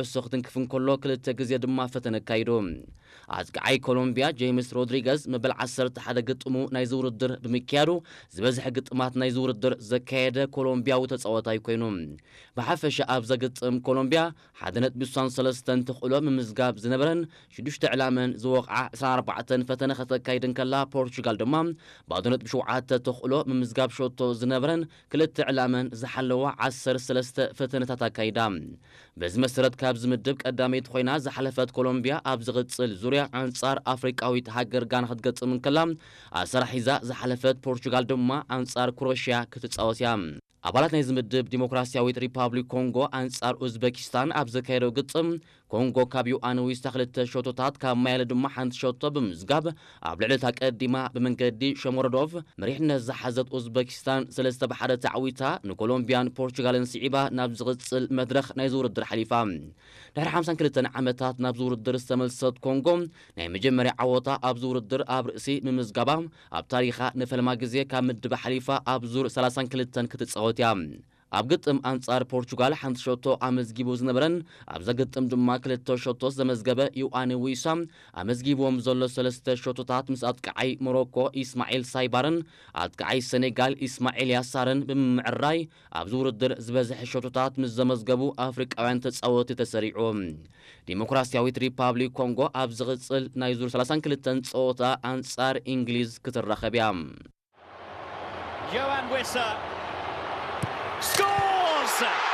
ዕሶ ክትንክፍ እንከሎ፣ ክልተ ግዜ ድማ ፈተነ ኣካይዱ። ኣጥቃዓይ ኮሎምቢያ ጄምስ ሮድሪገዝ መበል ዓሰርተ ሓደ ግጥሙ ናይዚ ውድድር ብምክያዱ፣ ዝበዝሐ ግጥማት ናይዚ ውድድር ዘካየደ ኮሎምቢያዊ ተጻዋታይ ኮይኑ። ብሓፈሻ ኣብ ዘግጥም ኮሎምቢያ ሓደ ነጥቢ ስሳን ሰለስተን ተኽእሎ ምምዝጋብ ዝነበረን ሽዱሽተ ዕላመን ዝወቕዓ ዕስራን ኣርባዕተን ፈተነ ከተካይድ እንከላ፣ ፖርቹጋል ድማ ባዶ ነጥቢ ሸውዓተ ተኽእሎ ምምዝጋብ ሸቶ ዝነበረን ክልተ ዕላመን ዝሓለዋ ዓሰርተ ሰለስተ ፈተነታት ኣካይዳ። በዚ መሰረት ካብዚ ምድብ ቀዳመይቲ ኮይና ዝሓለፈት ኮሎምቢያ ኣብ ዝቕጽል ዙርያ ኣንጻር ኣፍሪቃዊት ሃገር ጋና ክትገጥም እንከላ፣ ኣሰራሒዛ ዝሓለፈት ፖርቹጋል ድማ ኣንጻር ክሮሽያ ክትጻወት እያ። ኣባላት ናይዚ ምድብ ዲሞክራሲያዊት ሪፓብሊክ ኮንጎ ኣንጻር ኡዝበኪስታን ኣብ ዘካየደው ግጥም፣ ኮንጎ ካብ ዮኣን ዊሳ ክልተ ሸቶታት፣ ካብ ማያለ ድማ ሓንቲ ሸቶ ብምምዝጋብ ኣብ ልዕሊ እታ ቀዲማ ብመንገዲ ሸሞሮዶቭ መሪሕነት ዝሓዘት ኡዝበኪስታን ሰለስተ ብሓደ ተዓዊታ፣ ንኮሎምቢያን ፖርቹጋልን ስዒባ ናብ ዝቕጽል መድረኽ ናይዚ ውድድር ሓሊፋ። ድሕሪ ሓምሳን ክልተን ዓመታት ናብዚ ውድድር ዝተመልሰት ኮንጎ፣ ናይ መጀመርያ ዓወታ ኣብዚ ውድድር ኣብ ርእሲ ምምዝጋባ፣ ኣብ ታሪኻ ንፈልማ ግዜ ካብ ምድብ ሓሊፋ ኣብ ዙር ሰላሳን ክልተን ክትጻወት እያ። ኣብ ግጥም ኣንጻር ፖርቹጋል ሓንቲ ሸቶ ኣመዝጊቡ ዝነበረን ኣብዛ ግጥም ድማ ክልተ ሸቶ ዘመዝገበ ዮኣኒ ዊሳ፣ ኣመዝጊብዎም ዘሎ ሰለስተ ሸቶታት ምስ ኣጥቃዓይ ሞሮኮ ኢስማዒል ሳይባርን ኣጥቃዓይ ሰኔጋል ኢስማዒል ያሳርን ብምምዕራይ፣ ኣብዚ ውድድር ዝበዝሐ ሸቶታት ምስ ዘመዝገቡ ኣፍሪቃውያን ተጻወትቲ ተሰሪዑ። ዲሞክራሲያዊት ሪፓብሊክ ኮንጎ ኣብ ዝቕጽል ናይ ዙር ሰላሳን ክልተን ጸወታ ኣንጻር እንግሊዝ ክትራኸብ እያ። Yoann Wissa scores!